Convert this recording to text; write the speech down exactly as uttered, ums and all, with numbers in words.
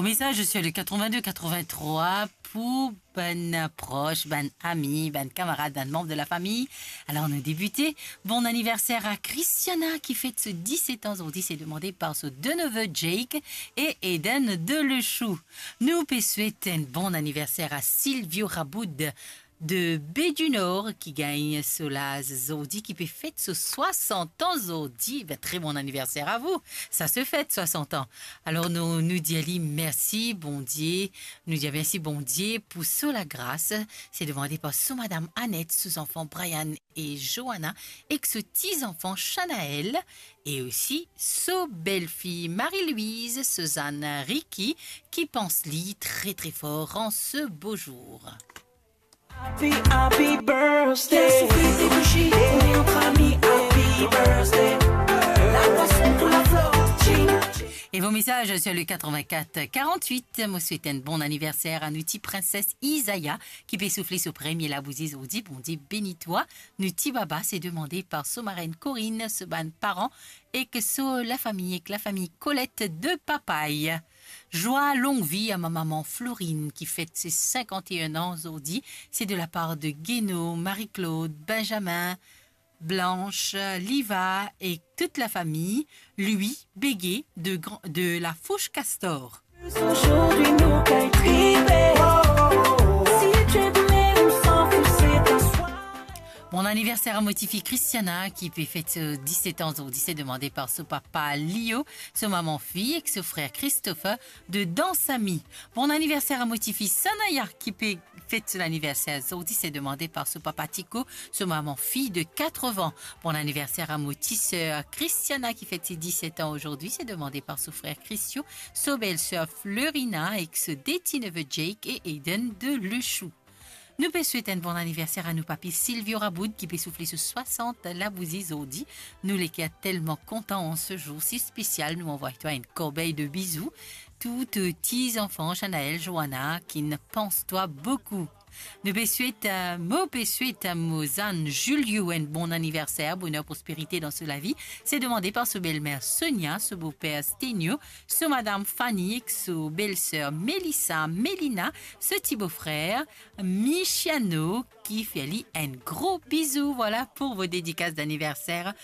Mesaz sur le quatre-vingt-deux quatre-vingt-trois pou bann pros, bann ami, bann kamarad, bann manb de la fami. Alor nou debite. Bon aniverser a Christiana ki fet so diset an zordi, se demande par so de neve Jake e Eden de Lechou. Nou pe swet enn bon aniverser a Silvio Raboud de Baie du Nord ki gagn so laz zordi, ki pe fet so swasant an zordi. Be, tre bon aniverser a vou. Sa se fet swasant an. Alor nou, nou dir li mersi Bondie, nou dir mersi Bondie pou so lagras. Se demande par so madam Annette, so zanfan Brian e Joanna, ek so ti zanfan Shanaël, e osi so belfi Marie-Louise, so zann Ricky, ki pans li tre tre for an se bo zour. Happy, happy birthday. Fais souffler tes bougies, on est entre amis. Happy birthday. La boisson pour la flore. Chin, chin. Et vos messages sur le quatre-vingt-quatre quarante-huit. Mo swet enn bon aniverser a nou ti prinses Isaiah, ki pe soufle so premie labouzi zordi. Bondie beni twa. Nou ti baba, se demande par so marenn Corinne, so bann paran, ek so lafami, ek lafami Colette de Papay. Joie, longue vie à ma maman Florine, qui fête ses cinquante et un ans aujourd'hui. C'est de la part de Guéno, Marie-Claude, Benjamin, Blanche, Liva et toute la famille, Louis, Béguet de, Gran- de la Fourche Castor. Aujourd'hui, nous, quand il tripe. Si tu es bleu, on s'en fout, c'est un soir. Bon aniverser a mo tifi Christiana, ki pe fet so diset an zordi, se demande par so papa Lio, so mama Fi ek so frer Christopher de Dansami. Bon aniverser a mo tifi Sanaya, ki pe fet so laniverser zordi, se demande par so papa Tico, so mama Fi de quatre-vingts. Bon aniverser a mo ti ser Christiana, ki fet ses dix-sept ans aujourd'hui, se demande par so frer Christio, so belser Florina ek so de ti neve Jake e Aiden de Lechou. Nou pe swet enn bon aniverser a nou papi Silvio Raboud, ki pe soufle so swasant labouzi zordi. Nou leker telman kontan an se zour si spesial, nou anvway twa enn korbey de bizou. Tou, tou ti zanfan, Shanaël, Joanna, ki'nn pans twa boukou. Nou pe swet, euh, mo pe swet a mo zann Julio enn bon aniverser, boner, prosperite dan so lavi. Se demande par so belmer Sonia, so boper Stenio, so madam Fanny ek so belser Melissa, Melina, so ti bofrer Michiano, ki fer li enn gro bizou. Voilà pour vos dédicaces d'anniversaire